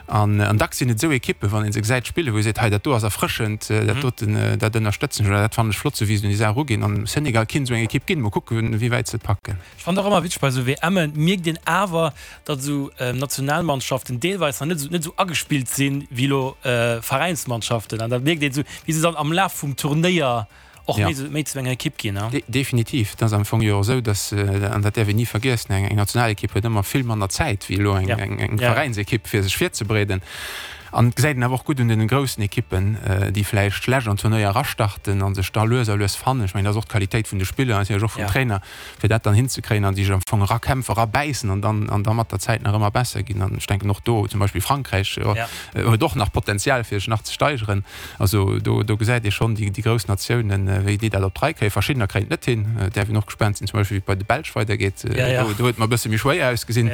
An dacks sinn et esou Ekippen, wann ee se gesäit spillen, wou ee seet, hei dat do ass erfrëschend, dat doten, dat ënnerstëtzen ech oder dat fannen ech flott, esou wéi se un déi Saach eruginn. An Senegal kinnt esou eng Ekipp ginn. Mol kucken, wéi wäit se et packen. Ech fannen och ëmmer witzeg, bei esou WMen mierkt een awer, datt esou Nationalmannschaften deelweis nach net esou net esou agespillt sinn, wéi elo Veräinsmannschaften. An da mierkt een esou, wéi se dann am Laf vum Turnéier och méi esou méi zu enger Ekipp ginn. Definitiv. Et ass am Fong jo och esou, datt, an dat däerf een ni vergiessen, eng Nationalekipp huet ëmmer vill manner Zäit wéi elo eng Veräinsekipp, fir sech virzebereeden. An et gesäit een awer och gutt un den groussen Ekippen, déi vläicht schlecht an d'Turnéier erastarten a sech da lues a lues fannen. Ech mengen, dat ass och d'Qualitéit vun de Spiller, natierlech och vum Trainer, fir dat dann hinzekréien a sech am Fong erakämpfen, erabäissen an dann an da mat der Zäit nach ëmmer besser ginn. An ech denken och do zum Beispill Frankräich huet och nach Potenzial, fir sech nach ze steigeren. Also do, do gesäit ee schonn déi, déi grouss Natiounen, wéi déi dat op d'Rei kréien. Verschiddener kréien et net hin. Et däerf een och gespaant sinn, zum Beispill wéi et bei de Belsch weidergeet. Do, do huet et mer e bësse méi schwéier ausgesinn.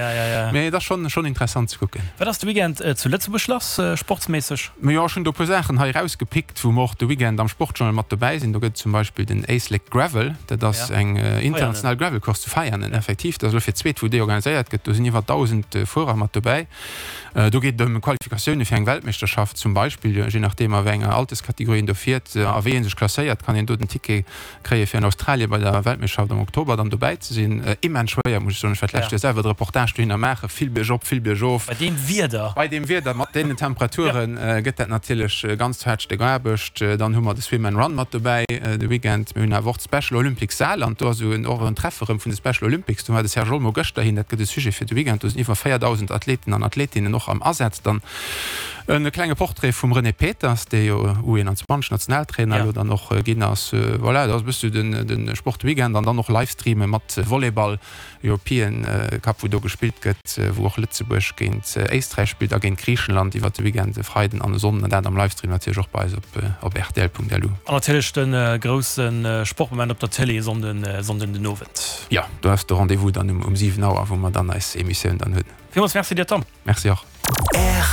Mee et ass schonn, schonn interessant ze kucken. Wat ass de Weekend zu Lëtzebuerg lass, sportsméisseg? Jo, ech hunn do e puer Saachen hei erausgepickt, wou mer och de Weekend am Sportjournal mat dobäi sinn. Do gëtt et zum Beispill den Éislek Gravel. Dat ass eng international Gravelcourse zu Veianen, effektiv. Dat ass elo fir d'zweet, wou déi organiséiert gëtt. Do sinn iwwer 1.000 Fuerer mat dobäi. Do geet et ëm Qualifikatioune fir eng Weltmeeschterschaft zum Beispill. Je nachdeem a wéi enger Alterskategorie een do fiert a wéi ee sech klasséiert, kann een do den Ticket kréie fir an Australien bei der Weltmeeschterschaft am Oktober dann dobäi ze sinn. Immens schwéier, muss ech soen. Ech war d'lescht Joer selwer de Reportage dohinner maachen. Vill biergop, vill biergof. Bei deem Wieder. Bei deem Wieder, mat deenen Temperature gëtt dat natierlech e ganz haart Stéck Aarbecht. Dann hu mer de Swim and Run mat dobäi de Weekend. Mir hunn awer och d'Special Olympics Saarland. Do ass och en Treffe rëm vun de Special Olympics. Do war de Serge Olmo gëschter hin. Dat gëtt e Sujet fir de Weekend. Do sinn iwwer 4.000 Athleten an Athletinnen och am Asaz. Dann e klenge Portrait vum René Peters, dee jo U21 Nationaltrainer elo dann och ginn ass. Voilà, dat ass e bësse de Sportweekend an dann och Livestreame mat Volleyball. European Cup wou do gespillt gëtt, wou och Lëtzebuerg géint Éisträich spillt a géint Griichenland iwwert de Weekend e Freiden an e Sonnden an dat am Livestream natierlech och bei eis op op rtl.lu. An natierlech de grousse Sportmoment op der Tëlee e Sonnden Sonnden den Owend. Jo, do ass de Rendez-vous dann um 7 Auer wou mer dann eis Emissioun dann hunn. Villmools Merci dir Tom. Merci och.